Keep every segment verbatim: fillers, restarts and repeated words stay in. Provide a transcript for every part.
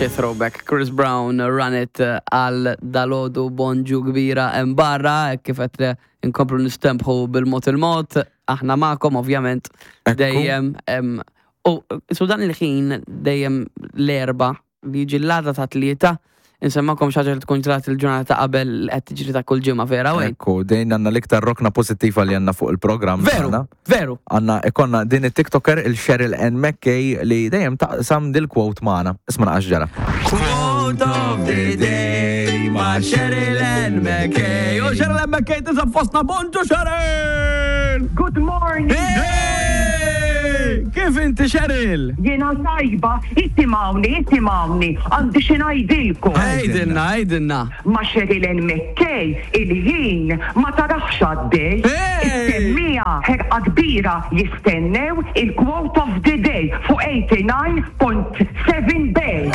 Xi throwback, Chris Brown, "Run It" għal dalgħodu. Bonġu kbira hemm barra, kif qed inkomplu nistembħu bil-mod il-mod, aħna magħkom ovvjament Ekku. dejjem em, u su dan il-ħin dejjem l-Erbgħa li jiġi l-għada ta' Tlieta insemmakom xi ħaġa li tkun ġrat il-ġurnata qabel li qed tiġri ta' kull ġimgħa, vera, Wayne? Ekku, dejn għandna l-iktar rokna pozittiva li għandna fuq il-program Veru, tagħna. veru. Għandna ikonna din il-TikToker, il-Cheryl N. McKay, li dejjem taqsam dil-quote magħna. Isma' naqax ġara. Quote of the day ma' Cheryl N. McKay. U Cheryl N. McKay tinsab fostna. Bonġu, Cheryl! Good morning. Hey! Kif inti, Cheryl? Jiena tajba, isimgħuni, isimgħuni, għandi xi ngħidilkom. Għidilna, għidilna. Ma' Cheryl N. McKay, il-ħin ma tarax għaddej. Hey! Is-semmiegħa b'ħerqa kbira jistennew il-quote of the day fuq eighty-nine point seven Bay.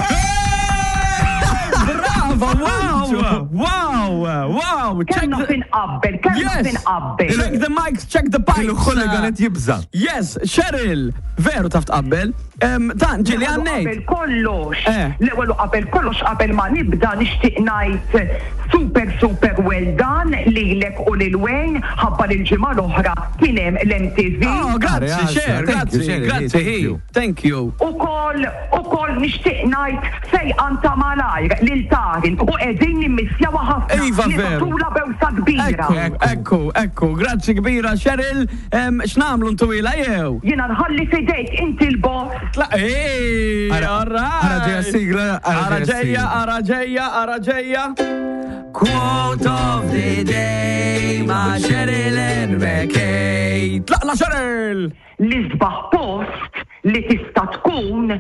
Brava, wow, wow, wow. Check Kemm the, finqabbel, kemm Yes. finqabbel. Check the mics, check the pipes. Il-hooligan qed jibża. Yes, Cheryl, veru taf tqabbel. Em, Dan, ġili L-ewwel u għannejt. qabel kollox, Eh. l-ewwel u qabel kollox, qabel ma nibda, nixtieq ngħid super super well done lilek u lil Wayne ħabba lil ġimgħa l-oħra kien hemm l-M T V. Oh, grazzi, Grazzi, Cher, thank you, grazzi, Cheryl, grazzi, thank hi. you. Thank you. Ukoll ukoll nixtieq ngħid fejqan ta' malajr lil Tarin u qegħdin nimmissjawha ħafna. Iva, veru. Nibagħtulha bewsa kbira. Ekku, ekku, ekku, grazzi kbira, Cheryl. Em, X'nagħmlu, ntwila jew? Jiena nħalli fidejk, inti l-boss. Tla, ej, Ara- all right. ara ġeja sigla, ara Ara ġeja ġeja, sigla. ara ġeja, ara ġeja. Quote of the day ma' Cheryl N. McKay. Tlaqna, Cheryl! L-isbaħ post li tista' tkun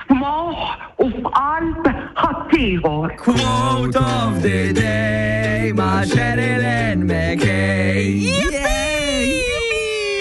f'moħħ u f'qalb ħaddieħor. Quote of the day ma' Cheryl N. McKay.